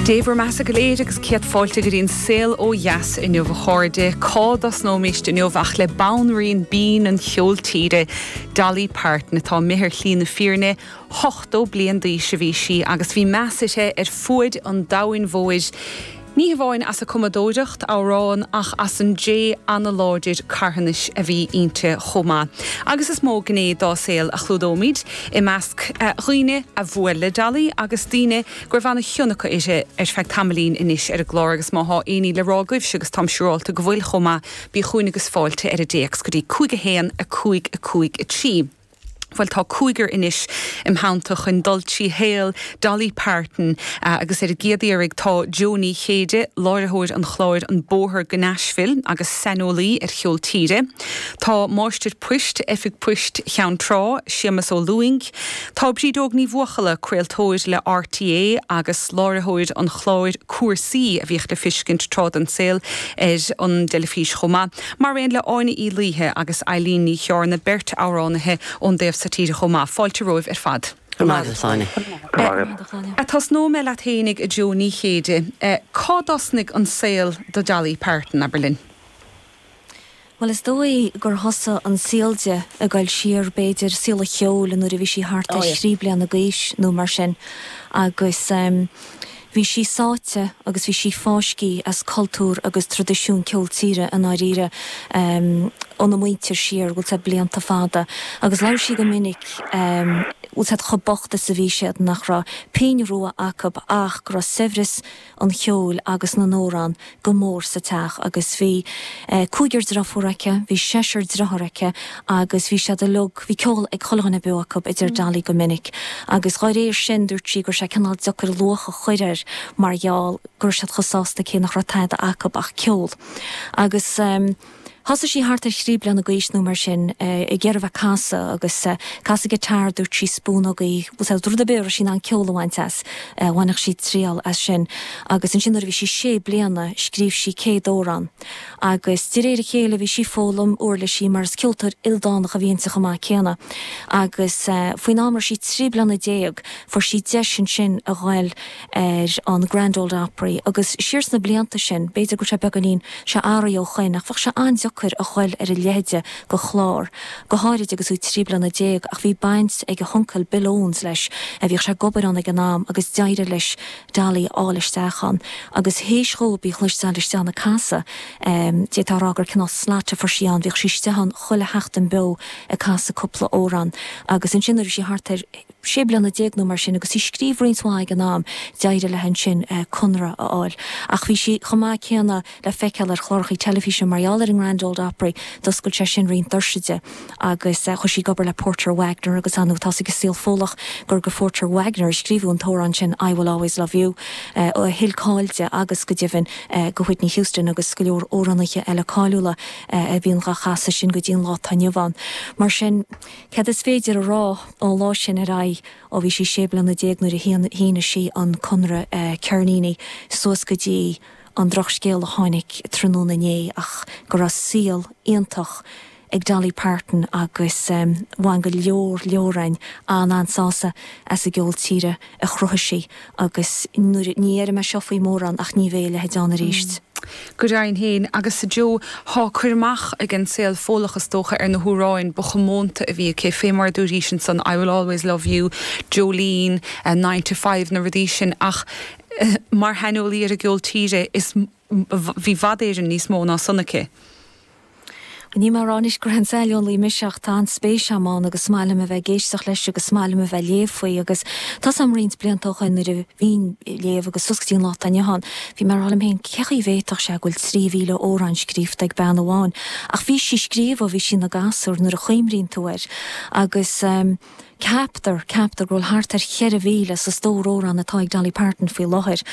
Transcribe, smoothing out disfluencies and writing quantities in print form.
Dé bhur mbeatha go léir agus céad fáilte go dtí an Saol Ó Dheas inniu a chairde. Cá dtosnóimíst inniu ach le banríon binn an cheoil tíre, Dolly Parton, atá imithe ar shlí na fírinne. 80 bliain d'aois a bhí sí agus bhí meas uirthi ar fuaid an domhain mhóir. Ní hamháin as a cumadóireacht amhrán ach as an dé an-láidir carthanais a bhí inti chomh maith. Agus is mó gné dá saol a chlúdóimid, i measc dhaoine a bhuail le Dolly agus daoine go raibh an-chion acu uirthi ar feadh tamaillín anois ar an gclár agus má thá éinní le rá agaibhse agus táim siúrálta go bhfuil chomh maith, bí chugainn agus fáilte ar an dtéacs go dtí 5 1 5 5 3. Bhuel, tá cúigear anois im theannta chun dul trí shaol Dolly Parton agus ar an gcéad iarraidh tá Jó Ní Chéide, láithreoir an chláir An Bóthar go Nashville agus saineolaí ar cheol tíre. Tá Máistir Poist Oifig Poist Cheann Trá, Séamus Ó Lúing. Tá Brídóg Ní Bhuachalla, craoltóir le RTÉ agus láithreoir an chláir Cúrsaí a bhíodh le fiscint tráth den saol ar an dteilifís chomh maith. Mar aon le Áine Uí Laoithe agus Eileen Ní Cheárna, beirt amhránaithe ón dtaobh so tíre chomh maith. Fáilte romhaibh ar fad. Go raibh maith agat, a Shláine. Go raibh maith agat. Tosnóidh mé leat fhéinig, a Jó Ní Chéide. Cá dtosnaigh an saol do Dolly Parton, abair linn? Bhuel, is dóigh gur thosaigh an saol di ag goil siar, b'fhéidir, saol an cheoil nuair a bhí sí thart ar thrí bliana d'aois nó mar sin agus Bhí sí sáite agus bhí sí fáiscthe as cultúr agus traidisiún ceol tíre i ndáiríre óna muintir siar, bhfuil 's a'd, blianta fada. Agus labhair sí go minic, bhfuil 's a'd, chomh bocht is a bhí siad, nach raibh pingin rua acu ach go raibh saibhreas an cheoil agus na n-amhrán go mór sa teach agus bhí cúigear driofúr aici, bhí seisear driotháir aici agus bhí siad uilig, bhí ceol ag chuile dhuine beo acu, a deir Dolly go minic. Agus dhá réir sin dúirt sí go raibh sé cineál deacair luach a chur air mar gheall go raibh siad chomh sásta cé nach raibh tada acu ach ceol. Agus. Thosaigh sí thart ar thrí bliana d'aois nó mar sin ag iarraidh bheith ag casadh agus casadh guitar dúirt sí spúnógaí, bhfuil 's a'd, rud ar bith a raibh sí in ann ceol a bhaint as, bhainfeadh sí triail as sin. Agus ansin nuair a bhí sí sé bliana scríobh sí céad amhrán agus de réir a chéile bhí sí ag foghlaim uirlisí mar is ceoltóir ildánach a bhí inti chomh maith céanna. Agus faoin am a raibh sí 13 bliana fuair sí deis ansin a ghoil ar an Grand Ole Opry agus siar sna blianta sin, b'fhéidir go bhfuil sé beagáinín, sé athraithe ó shoin, ach bheadh sé an-deacair a ghoil ar a leithide de chlár, go háirid agus tú 13 bliana, ach bhí baint ag a huncail Bill Owens leis, a bhíodh sé ag obair ann ag an am agus d'éirigh leis Dolly a fháil isteach ann agus théis dhóibh í a chloisteáil istigh ann ag casadh, d'fhéadfá a rá gur cineál slot a fuair sí ann, bhíodh sí istigh ann chuile sheachtain beo ag casadh cúpla amhrán agus ansin nuair a bhí sí thart ar. 16 bliana nó mar sin agus í ag scríobh roinnt mhaith ag an am, d'éirigh léi ansin conradh a fháil. Ach bhí sí chomh maith céanna le feiceáil ar chlárachaí teilifíse mar gheall ar an nGrand Ole Opry, d'oscail sé sin roinnt doirse di agus chuaigh sí ag obair le Porter Wagoner agus ar ndóigh tá's ag an saol Fódlach gur do Phorter Wagoner a scríobhadh an t-amhrán sin I Will Always Love You a thuill cáil di agus go deimhin do Whitney Houston agus go leor amhránaithe eile cáiliúla a bhíonn dhá chasadh sin go dtí an lá atá inniu ann. Mar sin. Céard is féidir a rá ón lá sin ar aghaidh, ó bhí sí 16 bliana nuair a shínigh sí an conradh ceirníní suas go dtí an drochscéal a tháinig tráthnóna inné ach go raibh saol iontach ag Dolly Parton agus bhain go leor leor againn an-an-sásamh as an gceol tíre a chruthaigh sí agus nuair, ní déarfaidh mé seo faoi mórán ach ní bheidh a leithéid ann arís. Go deimhin féin, agus a Joe, thá cur amach ag an saol Fódlach is dócha ar na hamhráin ba chomónta a bhí aici, fé mar a dúraís ansan, I Will Always Love You, Jolene, Nine to Five, na rudaí sin, ach mar shaineolaí ar an gceol tíre, is bhí i bhfad Éireann níos mó ná san aici. Níl mé ag rá anois gur aon saineolaí mise ach tá an-spéis agam ann agus is maith liom a bheith ag éisteacht leis agus is maith liom a bheith ag léamh faoi agus tá's agam roinnt blianta ó shoin nuair a bhínn ag léamh agus suas go dtí an lá atá inniu ann bhí mé ag rá liom féin cé chaoi a bhféadfadh sé go bhfuil 3,000 amhrán scríofa ag bean amháin ach bhí sí ag scríobh ó bhí sí ina gasúr nuair a chuimríonn tú air agus ceaptar, ceaptar go bhfuil thart ar 4,000 sa stór amhrán atá ag Dolly Parton faoi láthair.